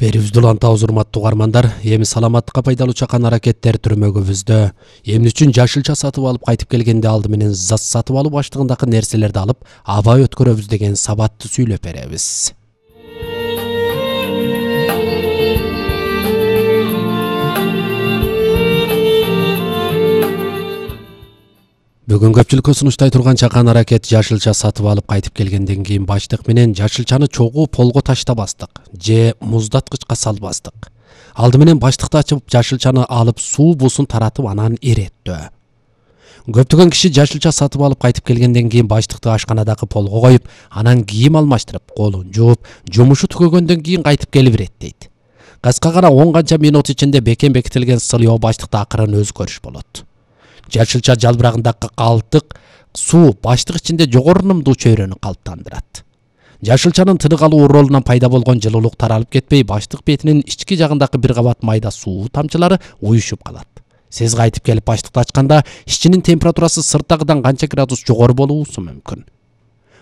Берибизди улантабыз, урматтуу угармандар. Эми саламаттыкка пайдалуу чакан аракеттер түрмөгүбүздө. Эмне үчүн жашылча сатып алып кайтып келгенде алды менен ЗАЗ сатып алуу баштыгындагы нерселерди алып аба өткөрөбүз деген сабатты сүйлөп беребиз. Бүгүн көпчүлүккө сунуштай турган чакан аракет жашылча сатып алып кайтып келгенден кийин баштык менен жашылчаны чогуу полго таштабастык же муздаткычка салбастык. Алды менен баштыкты ачып жашылчаны алып суу бусун таратып анан эреттөө. Көптөгөн киши жашылча сатып алып кайтып келгенден кийин баштыкты ашканадагы полго коюп, анан кийим алмаштырып, колун жууп, жумушу түгөгөндөн кийин кайтып келип иреттейт. Кыска гана 10 канча минут ичинде бекем бекитилген сылыоо баштыкта акырын өзгөрүш болот. Жашылча жалбырагындагы калтык суу баштык ичинде жогору ынымдуу чөйрөнү калыптандырат. Жашылчанын тынык алуу ролунан пайда болгон жылуулук таралып кетпей, баштык бетинин ички жагындагы бир кабат майда суу тамчылары уюшуп калат. Сиз кайтып келип баштыкты ачканда ичинин температурасы сырттагыдан канча градус жогору болуусу мүмкүн.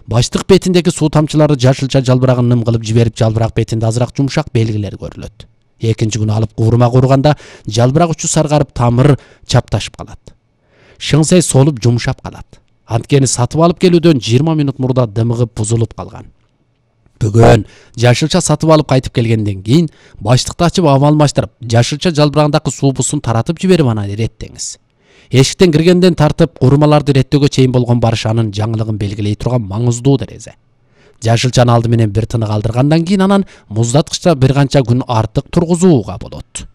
Баштык бетиндеги суу тамчылары жашылча жалбырагын ным кылып жиберип, жалбырак бетинде азыраак жумшак белгилер көрүлөт. Экинчи күнү алып куурма курганда жалбырак учу саргарып, тамыр чапташып калат. Шыңсай солуп жумшап калат. Анткени сатып алып келүүдөн 20 минут мурда дымыгып бузулуп калган. Бүгүн жашылча сатып алып кайтып келгенден кийин баштыкты ачып аба алмаштырып, жашылча жалбырагындагы суу бусун таратып жиберип анан иреттеңиз. Эшиктен киргенден тартып курмаларды иреттөөгө чейин болгон барыш анын жаңылыгын белгилей турган маңыздуу дерезе. Жашылчаны алды менен бир тынык алдыргандан кийин анан муздаткычта бир канча күн артык тургузууга болот.